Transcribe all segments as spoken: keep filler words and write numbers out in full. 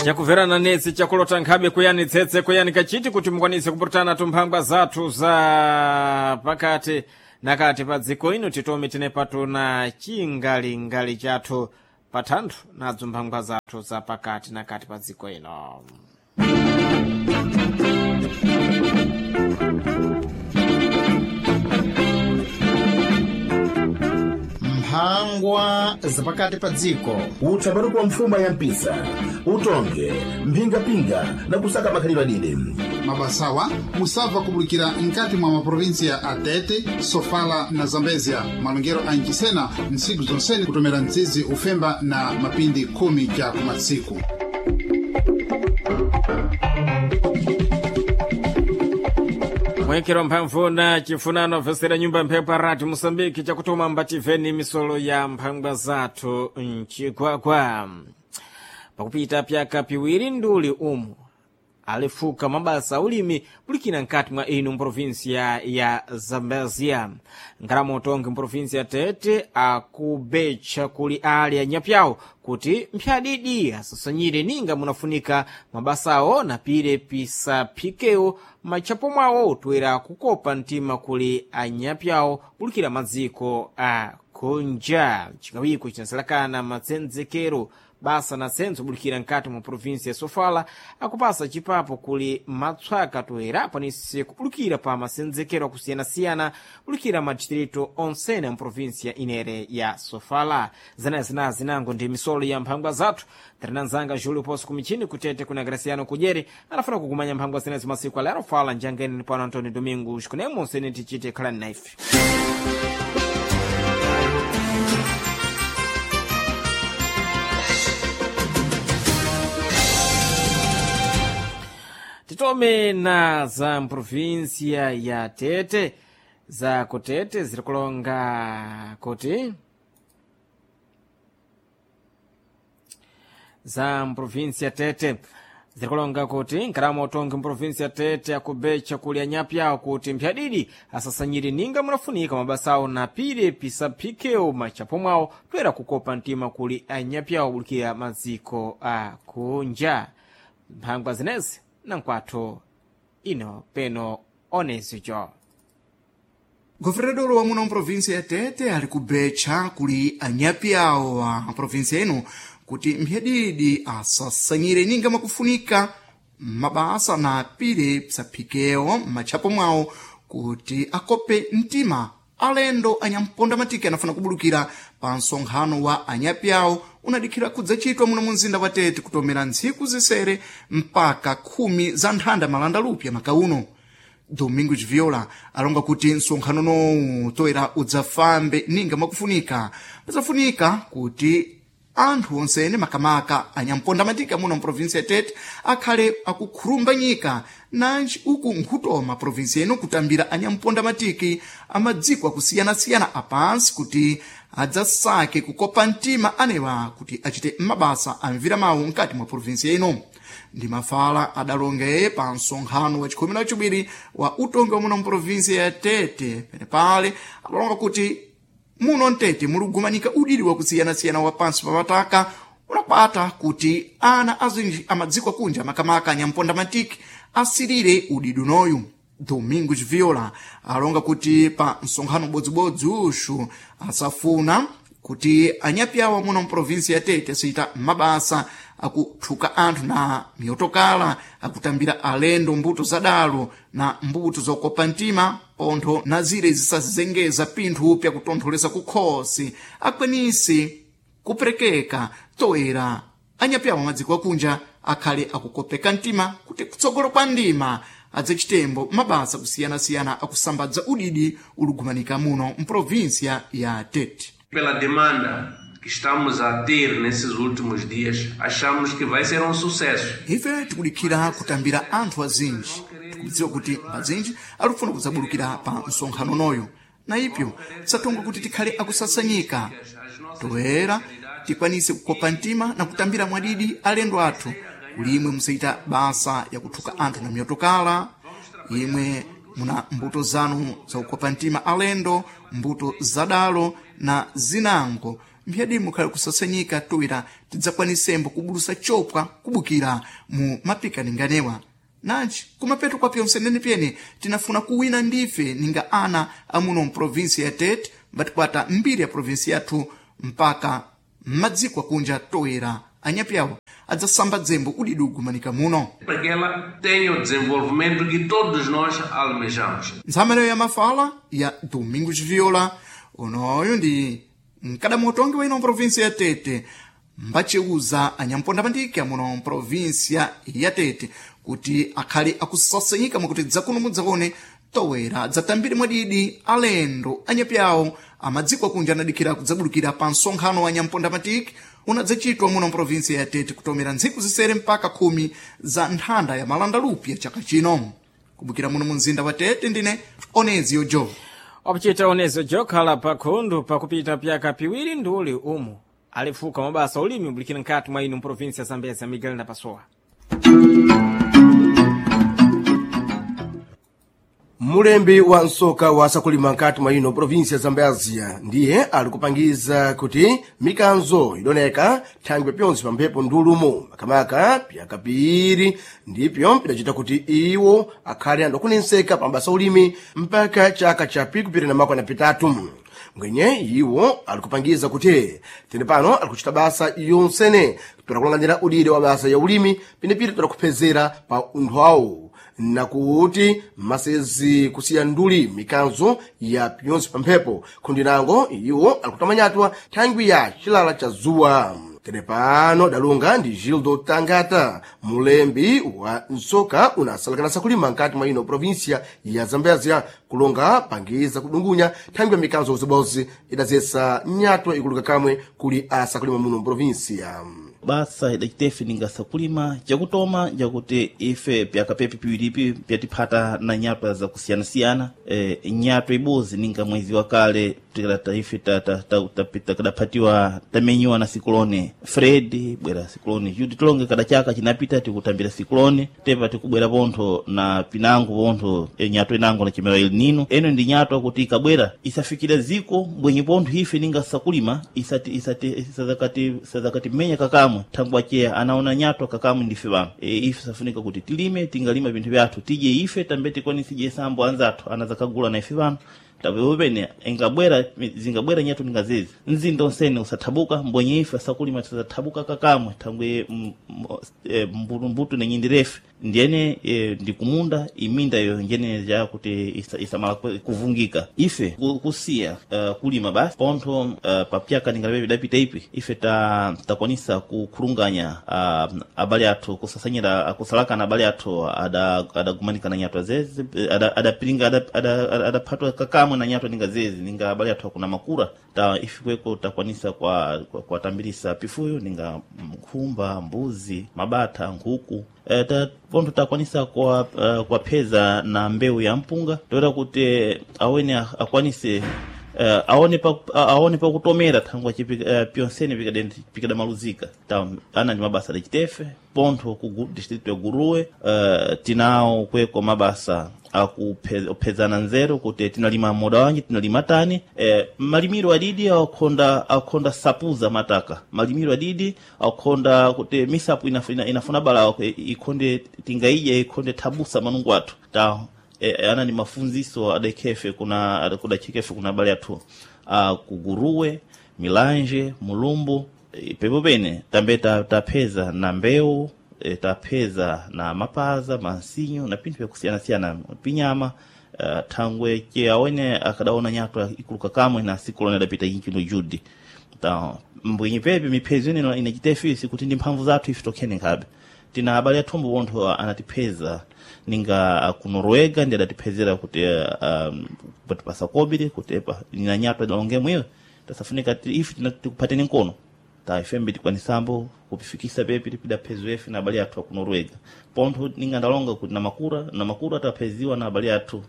Chakumverana netsi chakulota nkhabe kuyani tsetse kuyani kachiti kuti mukwanise kupurutana tumphangwa zathu za pakati nakati pa dziko ino titome tine patuna chingalingali chathu pathanthwe nadzo mphangwa zathu za pakati nakati pa dziko ino. Mphangwa zapakati pa dziko. Utsaparuko wa mfuma ya mpisa utonge mphingapinga na kusaka makhalidwe adide. Mabasawa musabva kubulikira nkati mwa maprovinsiya a Tete, Sofala na Zambezia. Malongero a Ncisena ntsiku zonsene kutomera mtsizi ufemba na mapindi khumi ja kumatsiku. Mwekero mphamvu na chifunano vesera nyumba mphepo rati Moçambique chakutuma mbativeni misolo ya mphangwa zathu mchigwagwa. Pakupita pyaka piwiri nduli umu alifuka mabasa aulimi bulikina nkati mwa inu mprovinsia ya Zambezia. Ngalama utongi mprovinsia ya Tete akubetcha kuli ali anyapyawo kuti mphyadidi asasanyire ninga munafunika mabasawo na pire pisaphikewo matchapo mwawo toera kukopa mtima kuli anyapyawo bulikira madziko a kunja. Chikawiko chinasalakana matsenzekero basa na sentso bulikira nkati mwa provinsi ya Sofala akupasa chipapo kuli matswaka toera akwanise kubulikira pa masenzekero akusiyana-siyana bulikira madistrito onsene a mprovinsi ya inere ya Sofala. Zanayi zinango ndi misolo ya mphangwa zathu. Tarinanzanga Julio Poso kumichini kutete kuna Graciano Kujeri anafuna kukumanya mphangwa zinezo masiku alero fala njangeni ni pano Antonio Domingos kunemo onsene tichite khalani naife. Titome na za mprovinsia ya Tete za kutete zirikulonga kuti za mprovinsia Tete zirikulonga kuti nkalama utongi mprovinsia Tete akubecha kuli anyapyawo kuti mphyadidi asasanyire ninga munafunika mabasawo na pire pisaphikewo machapo mwawo toera kukopa mtima kuli anyapyawo bulikira maziko a kunja. Mphangwa zinezi nankwathu ino peno onezico. Governador wa muno mprovinsia ya Tete ali kubetcha kuli anyapi awo a provinsia ino kuti mphyadidi asasanyire ninga makufunika mabasa na pire psaphikewo m'matchapo mwawo kuti akope mtima alendo anyamponda matiki anafuna kubulukira pa msonkhano wa anyapi awo unadikhira kudzachitwa muno mu mzinda wa Tete kutomera ntsiku zisere mpaka khumi za nthanda malanda lupya makauno. Domingos Viola alonga kuti msonkhano nowu toera udzafambe ninga makufunika pazafunika kuti anthu onsene makamaka anyamponda matika muno mprovinsi ya Tete akhale akukhulumba nyika nanji uku nkhutoma provinsi ino kutambira anyamponda matiki amadziko akusiyana-siyana apansi kuti adzasake kukopa mtima anewa kuti achite mabasa amvira mawu mkati mwa provinsi ino. Ndi mafala adalonge pa msonkhano wa chikhumi na chiwiri wa utongi wa muno mprovinsi ya Tete penepale adalonga kuti muno mtete muligumanika udidi wakusiyana-siyana wa pansi pa mataka unakwata kuti ana azinji amadziko akunja makamaka anyamponda matiki asirire udidi unoyu. Domingos Viola alonga kuti pa msonkhano ubodzibodzi uxu asafuna kuti anyapi awo muno mprovinsi ya Tete asiyita mabasa akuthuka anthu na miyotokala akutambira alendo mbuto zadalo na mbuto zokopa mtima pontho na zire zisazengeza pinthu pyakutontholesa kukhosi akwanise kuperekeka toera anyapi awo madziko akunja akhale akukopeka mtima kuti kutsogolo kwa ndima adzachitenbo mabasa kusiyana-siyana akusambadza udidi uligumanika muno mprovinsia ya Tete. Pela demanda que estamos a ter nesses últimos dias, achamos que vai ser um sucesso. Ife tikudikhira kutambira anthu azinji tikudziwa kuti azinji alifuna kudzabulukira pa msonkhano noyo na ipyo satonga kuti tikhale akusasanyika toera tikwanise kukopa mtima na kutambira mwadidi alendo athu kulimwe musayita basa yakuthuka anthu na miyotokala imwe muna mbuto zanu zakukopa mtima alendo mbuto zadalo na zinango mphyadimu khali kusasanyika toera tidzakwanisembo kubulusa chopwa kubukira mu mapikaninganewa. Nanji kumapeto kwa pyonse nenepyene tinafuna kuwina ndife ninga ana amuno mprovinsi ya Tete mbatikwata mbiri ya provinsi yathu mpaka mmadziko akunja toera anyapyawo adzasamba dzembo udidugu manika muno. Para que ela tenha o desenvolvimento que todos nós almejamos. Nthamaleyo ya mafala ya Domingos Viola unoyu ndi mkadamu utongi wa ino mprovinsi ya Tete mbaceuza anyamponda pandike amuno mprovinsia ya Tete kuti akhale akusasanyika mwakuti dzakuno mudzaone towera dzatambire mwadidi alendo anyapyawo amadziko akunja anadikira kudzabulukira pa msonkhano wa nyamponda matiki unadzachitwa muno mprovinsia ya Tete kutomera ntsiku zisere mpaka khumi za nthanda ya malandalupi ya chaka chino. Kubukira muno mu mzinda wa Tete ndine Onezio Jo. Wakuchita onezo jokhala pakhundu pakupita pyaka piwiri nduli umu alifuka mabasa ulimi ubulikira nkati mwa inu mprovinsi ya Zambezia. Miguel Napasowa. Mulembi wa msoka wa sakulima nkati mwa ino provinsi ya Zambezia ndiye ali kupangiza kuti mikanzo idoneka thangwe pyonse pa mphepo ndulumo makamaka pyaka piiri ndipyo pidacita kuti iwo akhale andakunenseka pa mabasa ulimi mpaka chaka cha pikupita na makwana pitatu. Mwenye iwo ali kupangiza kuti tene pano ali kuchita basa yonsene toda udire wa basa ya ulimi pinepita toda kuphezera pa unthu awo nakuti masezi kusiya nduli mikanzo ya pyonse pa mphepo khundinango iwo alikutamanyatwa thangwi ya chilala cha zuwa. Tere pano dalunga ndi Gildo Tangata, mulembi wa msoka unasalakana sakulima nkati mwa ino provinsia ya Zambezia, kulonga pangiza kudungunya thangwi ya mikanzo uzibozi idazesa nyatwa ikuluka kamwe kuli asakulima muno mprovinsia. Basa idacitefe ningasakulima cakutoma njakuti ife pyaka pepi piwiripi pyatiphata na nyatwa zakusiyanasiyana. E, nyatwa ibozi ninga mwezi wa kale tikadata ife takadaphatiwa tamenyiwa na sikulone Fred bwera sikulone Jude tilonge kada chaka chinapita tikutambira sikulone tepa tikubwera pontho na pinango pontho e, nyatwa inango na chimera El Nino eno ndi nyatwa kuti ikabwera isafikira ziko mbwenye pontho ife ninga sakulima isati isati isazakati isazakati menya kakamwe thangwa cheya anaona nyatwa kakamwe ndife bano e, ife safunika kuti tilime tingalima vinthu vyathu tidye ife tambe tikwanise sambo anzathu anazakagula na ife bano tapepo pene ingabwera zingabwera nyatwa ningazezi mzinda onsene usathabuka mbwenye ife asakulima tisathabuka kakamwe thangwe mbutumbutu nenyindirefe ndiyene e, ndikumunda iminda iyo njene ja kuti isa, isamala kuvungika ife kusiya uh, kulima basi pontho uh, papyaka ningalabe bidapita ipi ife ta takwanisa kukhulunganya uh, abale athu kusasanyira kusalakana abale athu adagumanika ada na nyatwa zezi adapiringa ada, ada, ada, adaphatwa kakamwe na nyatwa ninga zezi ninga abale athu akuna makura ta ifikweko takwanisa kwa kwatambirisa pifuyo ninga nkhumba mbuzi mabatha nkhuku e, ta pontho takwanisa kwa uh, kwapheza na mbewu ya mpunga toera kuti awene akwanise uh, aone pa aone pakutomera thangwa chipi uh, pyonsene pikadamaluzika ta ana ndi mabasa adacitefe pontho ku distrito ya Guruwe uh, tinawo kweko mabasa akuphezana nzeru kuti tinalima moda wanji tinalima tani e, malimiro adidi akhonda akhonda sapuza mataka malimiro adidi akhonda kuti misapu inafuna, inafuna bala ikhonde tingaidya ikhonde thabusa manungu athu ta e, ana ni mafunziso adakhefe kuna adakudachikefe kuna abale athu a kuguruwe Milanje Mulumbu e, pepo pene tambe tapheza ta na mbewu e, tapheza na mapaza mansinyo na pinthu vyakusiyanasiyana pinyama uh, thangwe ke awene akadaona nyatwa ikuluka kamwe na siku lone adapita inchino Jude ta mbwenye pepe miphezo ine inachitefe sikuti ndi mphamvu zathu ife tokhene nkhabe tina abale athumbu pontho anatipheza ninga ku Noruega ndi adatiphezera kuti um, patipasa kobiri kuti epa ina nyatwa idalonge mwiyo tasafunika ife tikuphateni nkono ta ifembe tikwanisambo kupifikisa pepi tipidaphezwa efe na abale athu aku Noruega. Pontho ninga ndalonga kuti na makura na makura tapheziwa na abale athu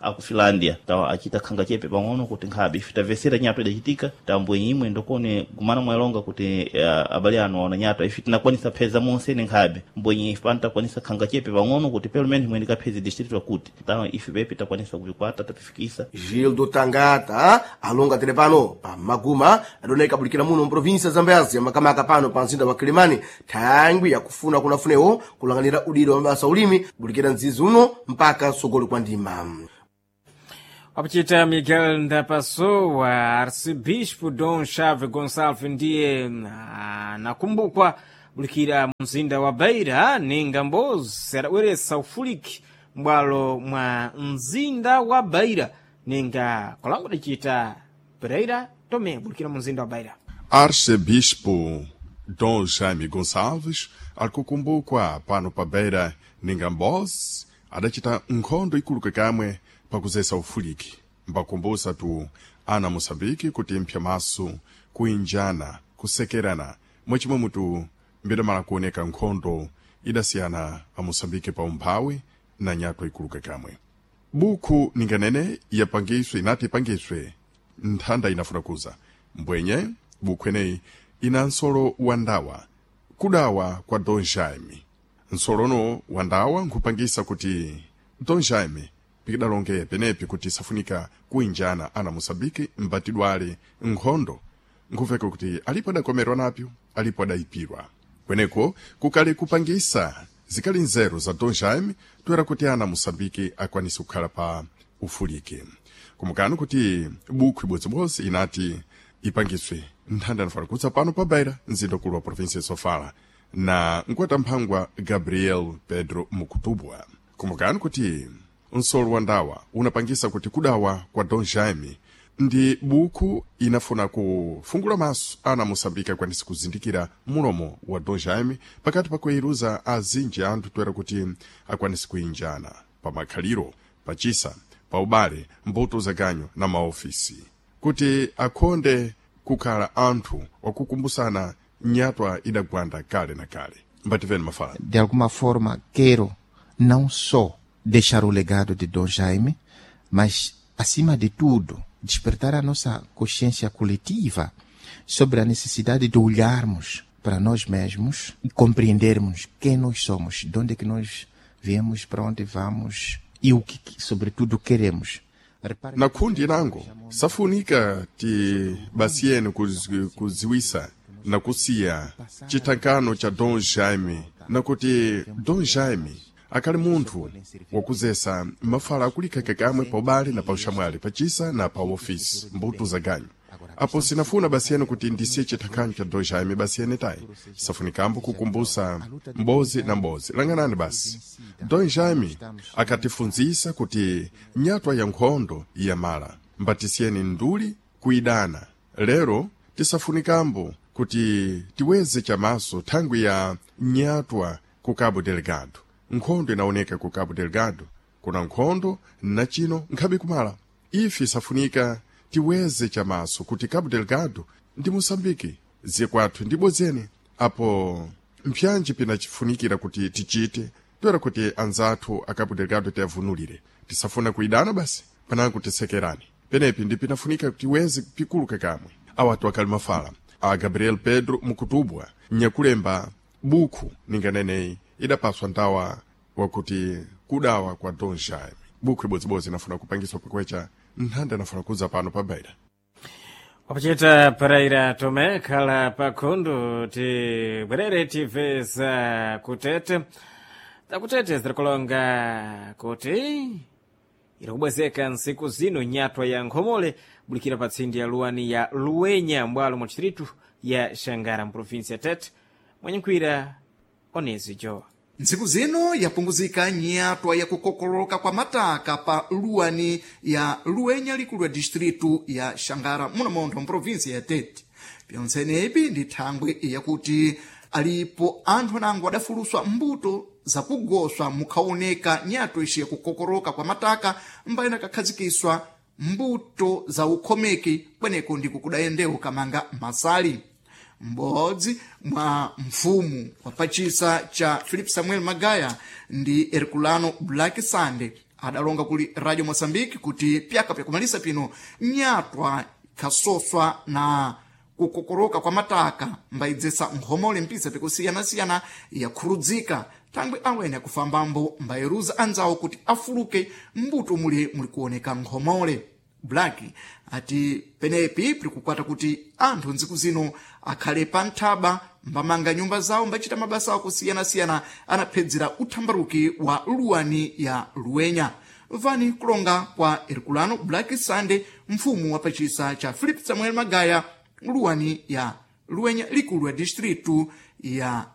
aku Finlandia tawa achita khanga chepe pang'ono kuti nkhabe ife tamvesera nyato idachitika tambwe imwe ndokone gumana mwalonga kuti uh, abale anu aona nyato ife tinakwanisa pheza monse ne nkhabe mbwenye ife pano takwanisa khanga chepe pang'ono kuti pelo menos imwe ndikapheze distrito akuti tawa ife pepi takwanisa kupikwata tapifikisa. Gildo Tangata alonga tere pano pa Maguma adoneka bulikira muno mprovinsia ya Zambezia, makamaka pano pa mzinda wa Kilimani, thangwi yakufuna kunafunewo kulanganira udiro wa mabasa ulimi bulikira mzizi uno mpaka sogolo kwa ndima. Wakuchita Miguel Ndapassoa, arcebispo Dom Chave Gonçalves ndiye anakumbukwa bulikira mzinda wa Beira ninga mbozi adabweretsa ufuliki m'bwalo mwa mzinda wa Beira ninga kolango dacita Pereira Tomé bulikira mu mzinda wa Beira. Arcebispo Dom Jaime Gonçalves alikukumbukwa pano pa Beira ninga mbozi adacita nkhondo ikulu kamwe pakuzesa ufuliki mbakumbusa tu ana Moçambique kuti mpya maso kuinjana kusekerana mwachimwe mutu mbidamala kuoneka nkhondo idasiyana a Moçambique pa umphawi na nyatwa ikuluka kamwe. Buku ninganene yapangiswe inati ipangiswe nthanda inafuna kuza mbwenye buku eneyi ina nsolo wa ndawa kudawa kwa Dom Jaime. Nsolono wa ndawa nkhupangisa kuti Dom Jaime pikidalonge penepi kuti safunika kuinjana ana Moçambique mbatidwale nkhondo nkhuveka kuti alipo adakomerwa napyo alipo adayipirwa kweneko kukali kupangisa zikali nzeru za Dom Jaime toera kuti ana Moçambique akwanise kukhala pa ufuliki. Kumukani kuti buku ibodzibodzi inati ipangiswe nthanda anafuna kutsa pano pa Beira mzinda ukulu wa provinsia ya Sofala na mkwata-mphangwa Gabriel Pedro Mukutubwa. Kumukani kuti nsolo wa ndawa unapangisa kuti kudawa kwa Dom Jaime ndi buku inafuna kufungula maso ana Moçambique akwanise kuzindikira mulomo wa Dom Jaime pakati pa kuiruza azinji anthu toera kuti akwanise kuinjana pa makhaliro pachisa pa ubale mbuto zaganyo na maofisi kuti akhonde kukhala anthu wakukumbusana nyatwa idagwanda kale na kale. Mbativeni mafala. De alguma forma quero não só deixar o legado de Dom Jaime, mas acima de tudo despertar a nossa consciência coletiva sobre a necessidade de olharmos para nós mesmos e compreendermos quem nós somos, de onde é que nós viemos, para onde vamos e o que, sobretudo, queremos. Na kundi nango safunika ti basiyeni kuz- kuziwisa na kusiya chithankano cha Dom Jaime na kuti Dom Jaime akali munthu wakuzesa mafala akulikheke kamwe pa ubale na pa uxamwali pachisa na pa ofisi mbuto za ganyu. Apo sinafuna basiyeni kuti ndisiye chithankhanyo cha Dom Jaime basiyeni tayi safunikambo kukumbusa mbozi na mbozi langanani basi. Dom Jaime akatifunzisa kuti nyatwa ya nkhondo yamala mbatisiyeni nduli kuidana lero tisafunikambo kuti tiweze chamaso thangwi ya nyatwa ku Cabo Delgado. Nkhondo inaoneka ku Cabo Delgado kuna nkhondo na chino nkhabe kumala ife safunika tiweze chamaso kuti Cabo Delgado ndi Moçambique ziye kwathu ndi bodzeni apo mpyanji pinachifunikira kuti tichite toera kuti anzathu a Cabo Delgado tiyavunulire tisafuna kuidana basi panango tisekerani penepi ndi pinafunika kuti tiweze pikuluka kamwe awatu akali mafala a Gabriel Pedro Mukutubwa nyakulemba buku ninganeneyi idapaswa ndawa wakuti kudawa kwa Dom Jaime. Buku ibodzibodzi inafuna kupangiswa pakwecha nthanda inafuna kuza pano pa Beira. Wakuchita Pereira Tomé khala pakhundu tibwerere tibve za kutete zakutete zirikulonga kuti irikubwezeka ntsiku zino nyatwa ya nkhomole bulikira pa tsindi ya luwani ya luwenya mbwalo mwa distritu ya Xangara mprovinsi ya Tete mwenyenkhwira onezi jowa. Ntsiku zino yapunguzika nyatwa yakukokoloka kwa mataka pa luwani ya luwenya likulu ya distritu ya Xangara muno montho mprovinsi ya Tete. Pyonsenepi ndi thangwi yakuti alipo anthu anango adafuluswa mbuto zakugoswa mukhaoneka nyatwa ici yakukokoloka kwa mataka mbayina kakhazikiswa mbuto za ukhomeki kweneko ndiko kudayendewo kamanga masali. M'bodzi mwa mfumu wa pachisa cha Philip Samuel Magaya ndi Herculano Black Sunday adalonga kuli Radio Mozambique kuti pyaka pyakumalisa pino nyatwa ikhasoswa na kukokoroka kwa mataka mbayidzesa nkhomole mpisa pikusiyana-siyana yakhurudzika thangwi awene akufambambo mbayeruza anzawo kuti afuluke mbuto muli muli kuoneka nkhomole. Black ati penepi pili kuti anthu ntsiku zino akhale pa nthaba mbamanga nyumba zawo mbachita mabasa akusiyana-siyana anaphedzera uthambaruki wa luwani ya luwenya. Vani kulonga kwa Herculano Black Sunday, mfumu wa pachisa cha Philip Samuel Magaya, luwani ya luwenya likulu ya distritu ya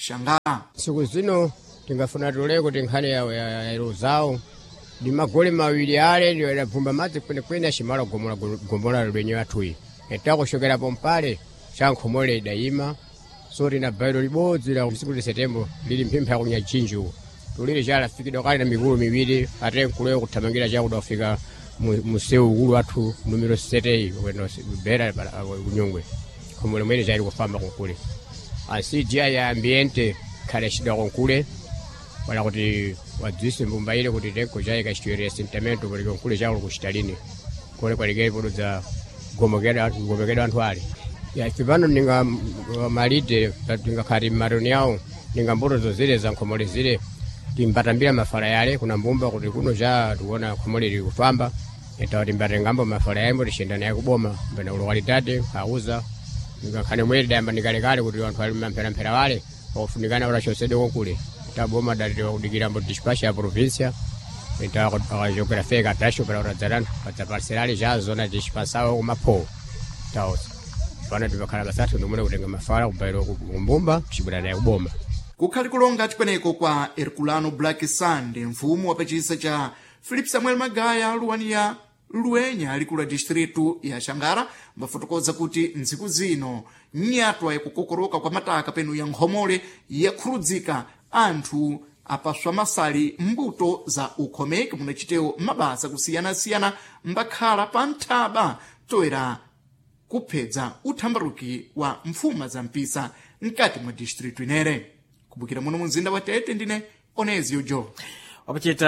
Xangara. Tsiku zino tingafuna tule kuti nkhani ya, ya, ya iluzawo ndi magoli mawiri ale ndiyo idabvumba madzi kwenekwene acimala gomola gomola lwenye athuyi etakuxokerapo mpale xa nkhomole idayima so tina bairo libodzi la tsiku li setembo lili mphimpha yakunyachinji uko tulili chalafikidwa kale na mikulu miwiri ate nkuleyo kuthamangira chakuda kufika museu ukulu wathu numero seteyi bera kunyungwe khomole mwene chali kufamba kunkule asiji ya ambiente khale xidwa kunkule wala kuti wadzise mbumba ile kuti tenko chayi kachitwere assentamento kuti kunkule chakulo kuchitalini kole kwalikeli pododza gomokera gomokera anthu ali ya ife pano ninga malite tingakhati mmatoni awo ninga mbuto zozile za nkhomole zile timbatambira mafala yale kuna mbumba kuti kuno cha tikuona khomole lili kufamba etawa timbatengambo mafala yayimbo tixenda naye kuboma mbena ulokalitate kauza ngakhale mweri dayamba nikalekale kuti anthu ali mampheramphera wale wakufunikana ulachosedwe konkule taboma dalitewa kudikirambo dispatch ya provincia ita geografia ikatacho para uradzarana padzaparcelale cha zona dispansawo kumapho taosa pano tipakhala basathu ndimune kutenga mafala kubairo kumbumba kuchibwera naye kuboma Kukhali kulonga chikweneko kwa Herculano Black Sunday, mfumu wa pachisa cha Philip Samuel Magaya luwani ya luwenya likulu la distritu ya Xangara mbafotokoza kuti ntsiku zino nyatwa yakukokoroka kwa mataka penu ya nkhomole yakhurudzika anthu apaswa masali mbuto za ukhomeki munachitewo mabasa kusiyana-siyana mbakhala pa nthaba toera kuphedza uthambaruki wa mfuma za mpisa mkati mwa distritu inere. Kubukira muno mu mzinda wa Tete ndine Onezio Joe. Wapachita